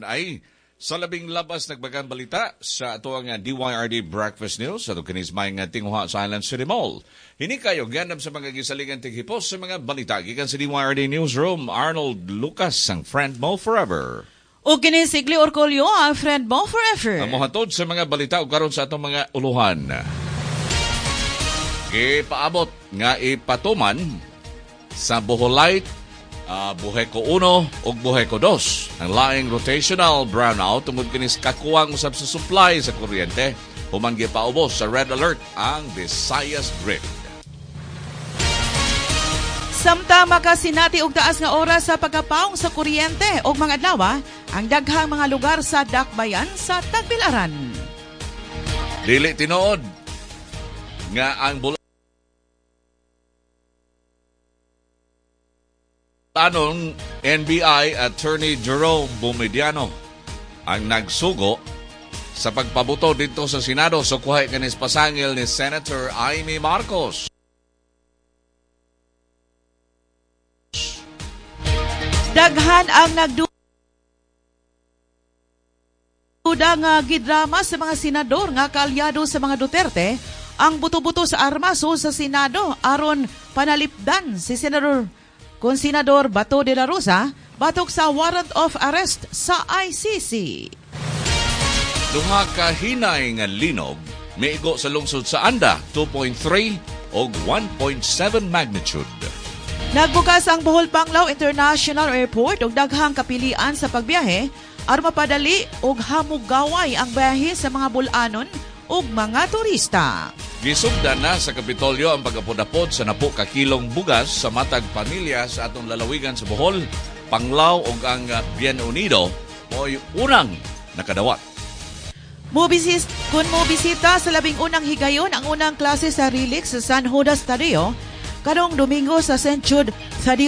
Ay sa labing labas nagbagang balita sa atoang DYRD Breakfast News sa kinis may nga tinguha sa Island City Mall. Hini kayo gandam sa mga gisaligan tighipos sa mga balita gikan sa DYRD Newsroom, Arnold Lucas, ang friend mo forever. O kini si Gli Orcolio, ang friend mo forever. Ang mohatod sa mga balita ug karon sa atong mga uluhan. Gipaabot nga ipatuman sa Boholite, Buheco 1 ug Buheco 2 ang laing rotational brownout tungod kini sa kakuwang usab sa supply sa kuryente human gipaubos sa red alert ang Visayas Grid. Samtang makasinati og taas nga oras sa pagkapaong sa kuryente og mga adlaw ang daghang mga lugar sa Dakbayan sa Tagbilaran. Dili tinuod nga ang Anong NBI Attorney Jerome Bomediano ang nagsugo sa pagpabuto dito sa Senado sa kuhay kanis pasangil ni Senator Amy Marcos. Daghan ang nagduda nga gidrama sa mga senador nga kaalyado sa mga Duterte ang buto-buto sa armas sa Senado aron panalipdan si Senador kung Senador Bato de la Rosa batok sa warrant of arrest sa ICC. Duha ka hinay nga linog miigo sa lungsod sa Anda, 2.3 og 1.7 magnitude. Nagbukas ang Bohol Panglao International Airport og daghang kapilian sa pagbiyahe aron mapadali og hamugaway ang biyahe sa mga bulanon ug mga turista. Gisugdan na sa Kapitolyo ang pagapod-apod sa napo ka kilong bugas sa matag pamilya sa atong lalawigan sa Bohol, Panglao ug ang Bien Unido mo'y unang nakadawat. Kung mobisita sa 11 higayon ang unang klase sa Relix sa San Judas Tadeo karong Domingo sa St. Jude Thaddeus.